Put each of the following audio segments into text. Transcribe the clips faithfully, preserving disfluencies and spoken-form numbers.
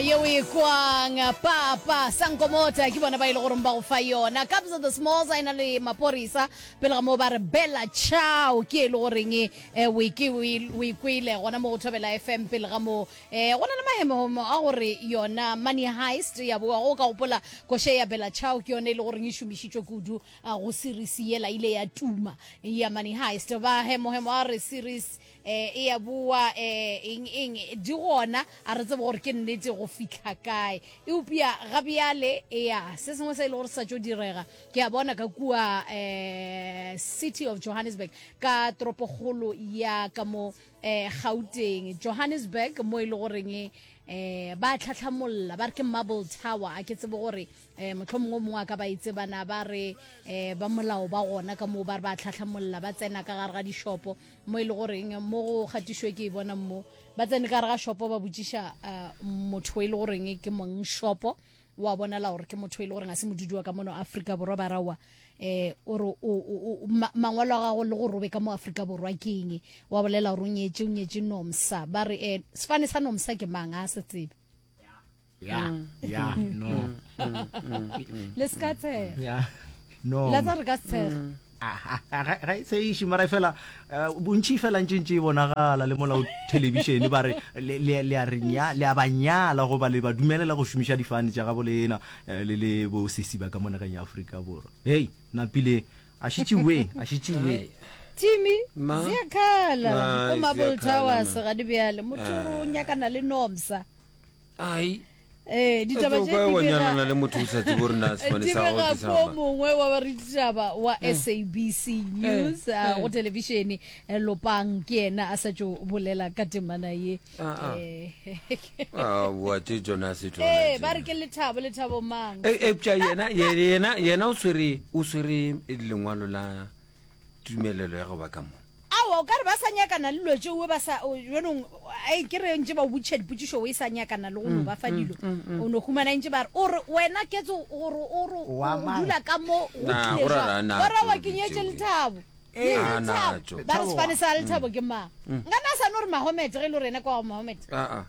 Yeo e kwang papa sankomota ke bona ba ile gore ba go fa yona. Kabza the Smalls a ena le Maporisa, pele ga moo ba re Bella Ciao ke e le goreng eh, o e ke o e o e kwele gona mo go Thobela F M. Pele ga moo um go na le mahemohemo a gore yona Money Heist ya boa. Go ka gopola koše ya Bella Ciao ke yone e le goreng e šomišitšwe kudu ah, go series yela ile ya tuma ya Money Heist. Ba hemohemo a re series eh e ya boa, eh eng eng di gona, a re tsebe gore ke nnete go fihla kae. Eupša ga bjale ya se sengwe se e le gore sa tšo direga, ke a bona ka kua eh City of Johannesburg, ka toropokgolo ya ka mo eh Gauteng, Johannesburg, mo e le goreng eh ba tlhatlhamolla ba re ke Marble Tower. A ke tsebe gore eh mohlomongwe o mongwe a ka ba itsebana. Ba re eh ba molao ba gona ka moo, ba re ba tlhatlhamolla, ba tsena ka gare ga dishopo mo e le goreng mo go kgatišwe ke e bona mo ba tsene ka gare ga shopo, ba botšiša eh, motho e le goreng ke mong shopo, wa bonala gore ke motho e le goreng a se modudi wa ka mono Afrika Borwa. Ba rawa eh o re o- o- o- ma- mangwalo a gago le gore o be ka mo Afrika Borwa ke eng? Wa bolela gore o nyetse, o nyetse Nomsa. Ba re eh sefane sa Nomsa ke mang? A se tsebe. Ya ya, no. Le se ka tshega. Ya, no. La tsa re ka se tshega. Ah, ah, ga ga e tseiše, mara fela eh, bontši fela ntše ntše e bonagala le molao thelebišene, ba re le le- le a re nya, le a ba nyala goba le ba dumelela go šomiša difane tša gabo lena eh, le le bo sesi ba ka mo nageng ya Afrika Borwa. Hei, napile a šitšiwe, a šitšiwe. Timi Ma? Ziyakhala Ai, ko Marble ziyakhala, Towers. ma. Ga di bjale motho o re o nyakana le Nomsa. Ai. Ee, ditaba O tše ka di wa bega- nyalana le motho o sa tsebe gore na sefane di sa gago bega ke sa ko mang. Mongwe wa bareditaba wa S A B C News ah, go thelebišene eh, Lopang ke yena a sa tšo bolela ka temana ye. Ah, ah. Eh, Ah, bua tše tsona se tsona ee tše. Ba re ke Lethabo, Lethabo mang? E- eupša yena ye- yena yena o swere o swere lengwalo la tumelelo ya go ba ka mo. Aowa, o ka re ba sa nyakana le dilo tšeo ba sa o- jwanong ai, ke re ntše ba o botšiša dipotšišo, o e sa nyakana le go no ba fa dilo, o no humana ntše ba re o re wena ketso gore o re o Wa mang? dula ka mo go Na, tlile go ra jwang? ra na Ba ra wa tšo ke nyetše tšeo. Lethabo. Ee. Ah, na, Lethabo. tšo. Ba re Lethabo sefane wa. sa Lethabo ke mang? Nkana a sa no re Mahomet, ge e le gore ena kwa wa Mahomet. Ah, ah.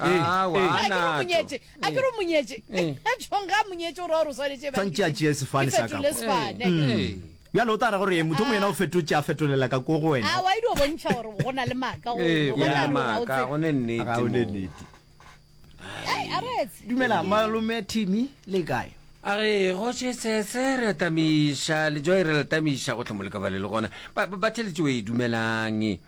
Eh, Ah, wa, eh. A ke re na, o monyetše, a ke re o monyetše. Eh. Tšhong ga a monyetše o ra gore o swanetše ba- Tshwantše a tšee sefane ke sa ka fetole kwa. sefane. Eh. Bjale o tla ra gore motho mongwe yena o fetotše, a fetolela ka ko go wena. A wa e dio bontšha gore go na le maaka go Eh, go go na na le le gore ga o maaka, tsebe. go ne nnete Ga o ne mo. nnete. Ai, a retse. Dumela malome Timmy, le kae? A re goše sese re tamiša le joy, re tamiša go tlhomo le ka ba le le gona ba ba- ba theletše o e dumelang.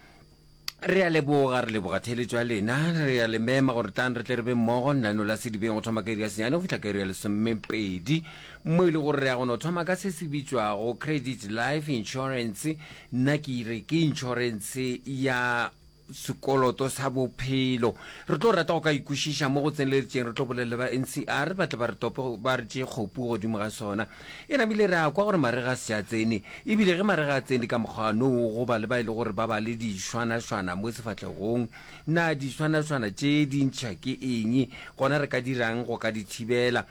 Re a leboga, re leboga theletšo ya lena. Re a le mema gore tlang re tle re be mmogo lenaneo la Sedibeng go thoma ka iri ya senyane go fihla ka iri ya lesomepedi, mo e le gore re ya go no thoma ka se se bitšwago credit life insurance. Nna ke re ke insurance ya sekoloto sa bophelo. Re tlo rata go ka ikwešiša mo go tseneletšeng, re tlo bolela le ba N C R ba tle ba re tope, ba re tšee kgopu godimo ga sona. E namile re a kwa gore marega a se a tsene, ebile ge marega a tsene ka mokgwa no go ba le ba e le gore ba ba le dišwanašwana mo sefahlegong. Na dišwanašwana tše di ntšha ke eng, gona re ka dirang go ka di thibela?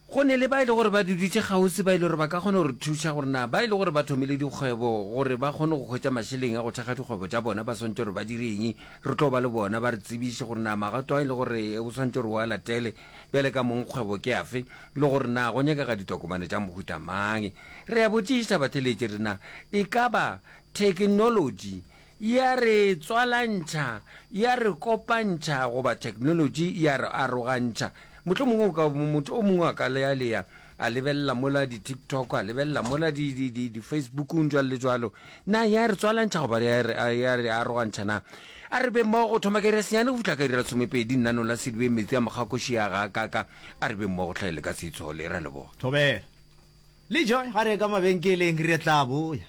Go ne le ba e le gore ba duditše kgauswi ba e le gore ba ka kgona go re thuša gore na ba e le gore ba thomile dikgwebo, gore ba kgone go hwetša mašeleng a go thekga dikgwebo tša bona, ba swantše gore ba dire eng. Re tlo ba le bona ba re tsebiše gore na magato a e le gore o swantše gore o a latele bjale ka mong kgwebo ke afe, le gore na go nyakega ditokomane tša mohuta mang. Re a botšiša batheletši rena, e ka ba thekenolotši ya re tswalantšha, ya re kopantšha, goba thekenolotši ya re arogantšha? Mohlomongwe o ka motho o mongwe a ka lealea a lebelela mola di-TikTok, a lebelela mola di-Facebookong, jwalo le jwalo. Na ya re tswalantšha goba ya re ya re arogantšha? Na a re be mmogo go thoma ka iri ya senyane go fihla ka iri ya lesomepedi nnanong la Sedibeng, metsi a mokgakoši ya ga kaka. A re be mmogo tlhaele ka seitshole, ra leboga. Thobela le Joy ga re ka mabenkeleng, re tla boya.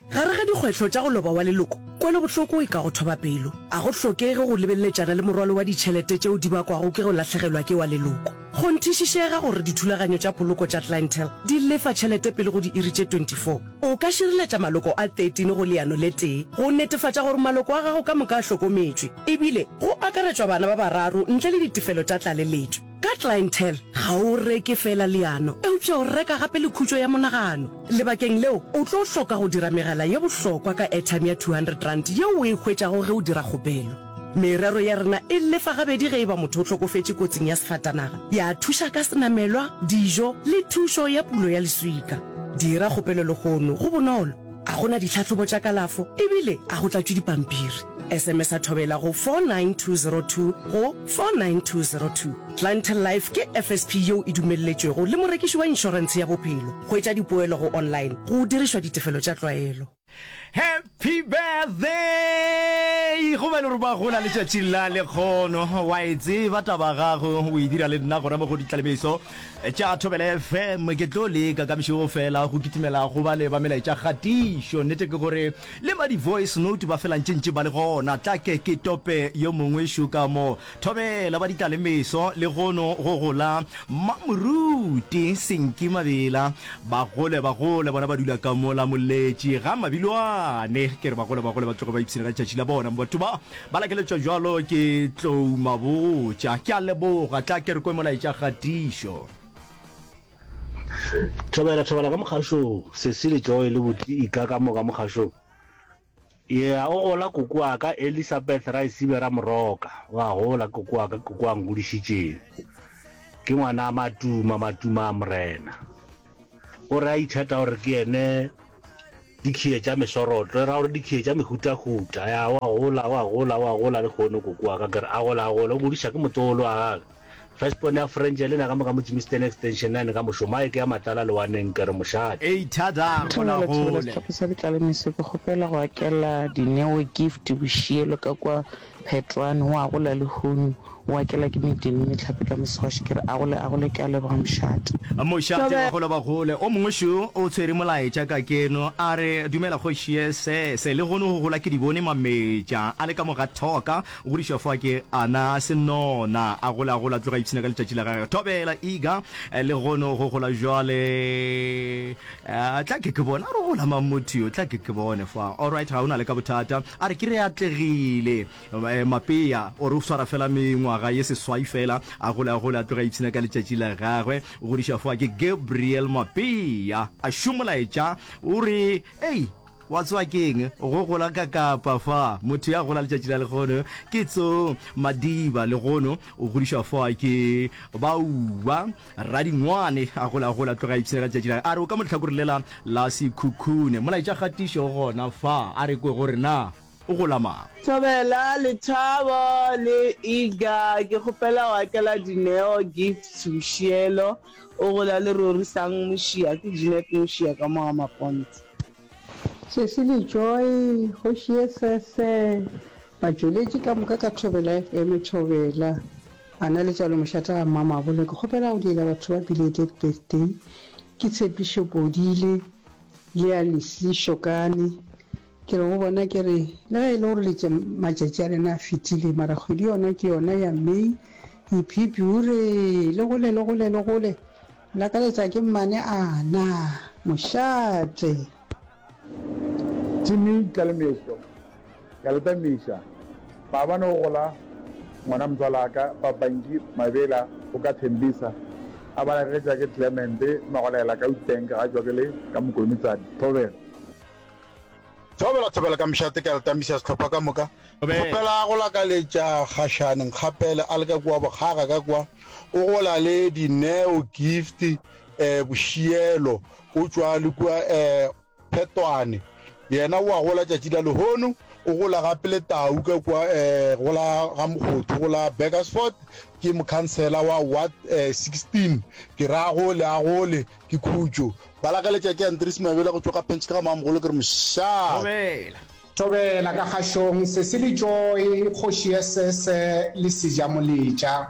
Gare ga dikgwetlho tša go loba wa leloko, kwelobohloko e ka go thoba pelo. A go hlokege go lebeleletšana le morwalo wa ditšhelete tšeo di bakwago ke go lahlegelwa ke wa leloko. Kgonthišišega gore dithulaganyo tša poloko tša Clientele di lefa tšhelete pele go diiri tše twenty-four. O ka šireletša maloko a thirteen go leano le tee go netefatša gore maloko a gago ka moka a hlokometšwe, ebile go akaretšwa bana ba bararo ntle le ditefelo tša tlaleletšo. Ka Clientele, ga o reke feela leano, eupša o reka gape le khutšo ya monagano. Lebakeng leo, o tlo hloka go dira megala ye bohlokwa ka airtime ya two hundred rand yeo o e hwetšago ge o dira kgopelo. Merero ya rena e lefa gabedi ge e ba motho o hlokofetše kotsing ya sefatanaga, ya thuša ka senamelwa, dijo le thušo ya pulo ya leswika. Dira kgopelo lehono, go bonolo, a go na ditlhahlobo tša kalafo ebile a go tlatšwe dipampiri. S M S a Thobela go four nine two zero two go four nine two zero two. Clientele Life ke F S P yeo e dumelletšwego le morekiši wa inšorentshe ya bophelo. Hwetša dipoelo go online go dirišwa ditefelo tša tlwaelo. Happy birthday go ba le gore ba gola letšatši la lekgono. Wa e tseba taba gago, o e dira le nna gona mo go ditlalemeso tša Thobela F M. Ke tlo leka ka mešego fela go kitimela go ba le ba melaetša kgatišo. Nnete ke gore le ba di-voice note ba fela ntšentše ba le gona. Tla ke ke tope yo mongwe šo ka mo. Thobela ba ditlalemeso, legono go gola Mamoruti Senki Mabela. Ba gole, ba gole, bona ba dula ka mola Moletši ga Mabilwane. Ke re ba gole, ba gole, ba tloge ba ipshina ka letšatši la bona. Batho ba ba lakeletšwa jalo ke Tlou Mabotja. Ke a leboga. Tla ke re kwe molaetša kgatišo. Thobela, thobela ka mokgašong, Sesi le Joy le Buti Ika ka moka mokgašong. Yeah, o gola koko wa ka Elizabeth Raisibe Ramoroka. O a gola koko wa ka, koko wa ngodišitšeng. Ke ngwana a Matuma, Matuma a Morena. O re a itheta gore ke yene dikhiye tša mesorotlo, e ra gore dikhiye tša mehutahuta. Ya, o a gola, o a gola, o a gola le kgono koko wa ka, ke re a gola, a gola. O godiša ke motsolo wa gage. Firstborn ya French le na ka moka mo Germiston Extension nine ka mošomo a e ke ya Matlala lewaneng ke re mošate. Ei thada gola Thobela, thobela gole. Sehlopha sa Ditlalemeso, ke kgopela go akela Dineo Gift Bošielo ka kwa Phetwane, o a gola lehono, o akela ke Medini Mehlape ka Moswaši, ke re a gole a gole, ke a leboga mošate. Mošate wa gola ba gole. O mongwe šo o tshwere molaetša ka keno a re dumela kgoši sese le gono go gola ke di bone mametša a le ka mo ga thoka o godišwa fa ke ana senona a gola a gola tloga ipshina ka letšatši la gagwe. Thobela Iga le gono go gola jwale tla ke ke bone a re gola mang motho yo tla ke ke bone fa. Alright, ga o na le ka bothata a re ke re atlegile Mapea o re o swara fela mengwaga ye seswai fela a gola a gola a tloga ipshina ka letšatši la gagwe. O godišwa fa ke Gabriel Mapea a šomolaetša o re ei wa tswa keng go gola ka kapa fa motho ya gola letšatši la legono ke tso Madiba legono o godišwa fa ke Bauba Radingwane a gola gola tloga ipshina ka letšatši la a re o ka mo lehlakore lela la Sekhukhune. Molaetša kgatišo gona fa a re kwe gore na o gola mang. Thobela, Lethabo le Iga, ke kgopela go akela Dineo Gifts Bošielo, o gola le Rorisang Mošia, ke Jeanette Mošia ka mo ga Mapontse. Sesi le Joy, kgoši ye sese, batšweletši ka moka ka Thobela F M. Thobela, ana letswalo mošate ga Mmamabolo, ke kgopela go diela batho ba belated birthday, ke Tshepišo Podile le ya Leslie Shokane. Ke re go bona ke re le ge e le gore letše matšatši a lena a fetile, mara kgwedi yona ke yona ya May. Iphipi ure le gole le gole le gole lakaletša ke mmane ana mošate. Jimmy Tlalemeso ya letamiša maabane o gola ngwana motswalaka Papanki Mabela o ka Thembisa a ba lagetša ke Clement Magolela ka Uitenk ga tšwa ke le ka Mokonitsane. Thobela. Thobela, thobela ka mošate ka letamiša sehlopha ka moka. Kgopela go lakaletša Kgašane Nkgapele a le ka kua Bokgaga ka kua. O gola le Dineo Gift eh Bošielo o tšwa le kua eh Phetwane. Yena o a gola tšatši la lehono. O gola gape le Tau ka kua eh go la ga Mokgothu go la Burgersfort. Ke mokhansela wa Ward eh sixteen. Ke re a gole a gole ke khutšo. Ba lakaletša ke Andries Mabela go tšwa ka Pentške ga Mamogolo ke re mošate. Thobela. Thobela ka kgašong, Sesi le Joy, Kgoši ya Sese le Sejamoletša.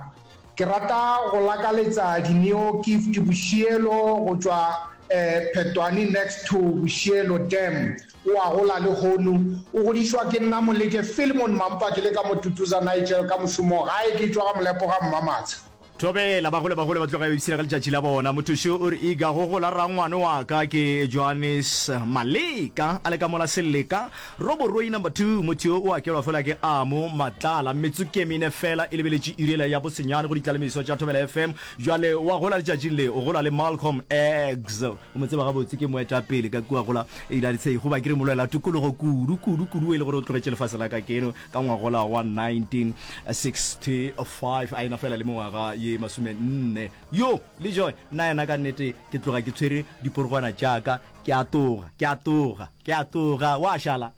Ke rata go lakaletsa Dineo Gift Bošielo go tšwa Phetwane next to Bošielo Dam. O a gola lehono. O godišwa ke nna Moleke Philemon Mampa ke le ka Motutuza Nigel ka mošomo gae ke tšwa ga Molepo ga Mmamatsha. Thobela, bagolo bagolo ba tloga ba ipshina ka letšatši la bona. Motho šo o re, Iga, go gola rangwane wa ka ke Johannes Maleka, a le ka mola Seleka, Roboroi number two. Motho yo o akelwa fela ke Amo Matlala. Metsotso ke mene fela e lebeletše iri yela ya bosenyane go ditlalemiso tša Thobela F M. Bjale wa gola letšatšing le, o gola le Malcolm X. O mo tseba gabotse, ke moetapele ka kua gola United States, goba ke re molwela tokologo kudu, kudu, kudu, e le gore o tlogetše lefase la ka keno ka ngwagola wa nineteen sixty five, a ena fela le mengwaga ye masomenne. Yo, le Joy, nna yena ka nnete ke tloga ke tshwere diporogwana tša ka, ke a toga, ke a toga, ke a toga. Wa šala?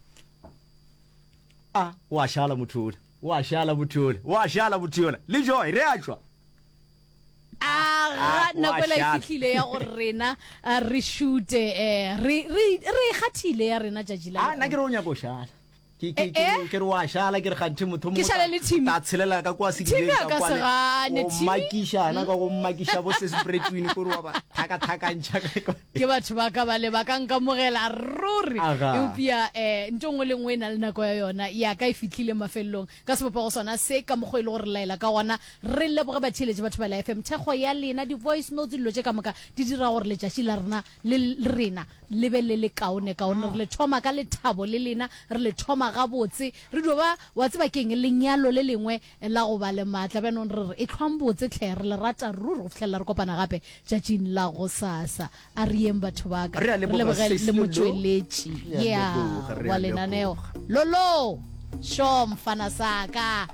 A, wa šala motho yola, wa šala motho yola, wa šala motho yola. Le Joy, re a tšwa. Aga, nako ela e fihlile ya gore rena re šute, re, re, re e kgathile ya rena tšatši la. A, nna ke re o nyako šala. Ke, ke, ke, ke re wa šala, ke re kganthe motho Ke šale le Timmy. Ta tshelela ka kwa sedibeng ka kwa le. Timmy a ka se gane, O Timmy. makiša, yena ka go makiša bo Sis Bretwin, kore wa ba thakathakantšha ka kwa. Ke batho ba ka bale ba ka nkamogela ruri. Aga. Eupša, eh, ntho nngwe le nngwe e na le nako ya yona. Ya ka e fihlile mafelelong. Ka sebopego sona se, ka mokgwa e le gore re laela ka gona, re leboge batheeletši ba Thobela F M. Thekgo ya lena, di-voice notes, dilo tše ka moka di dira gore letšatši la rena le rena le be le le kaonekaone. Re le thoma ka lethabo le lena, re le thoma gabotse. Re dio ba, wa tseba ke'ng, lenyalo le lengwe la go ba le maatla. Bjanong re re, ehlwang botse hle, re le rata ruri go fihlelela re kopana gape tšatšing la gosasa. A re yeng batho ba ka, Re a re leboga, leboge Sesi le Lolo. motšweletši, Re a yeah, leboga, re wa a lenaneo. leboga. Lolo! Sho mfana sa ka.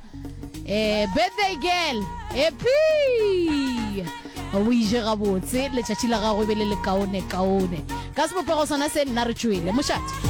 Eh, birthday girl, happy! O ije gabotse, letšatši la gago e be le lekaone kaone. Ka sebopego sona se nna re tšwele. Mošate.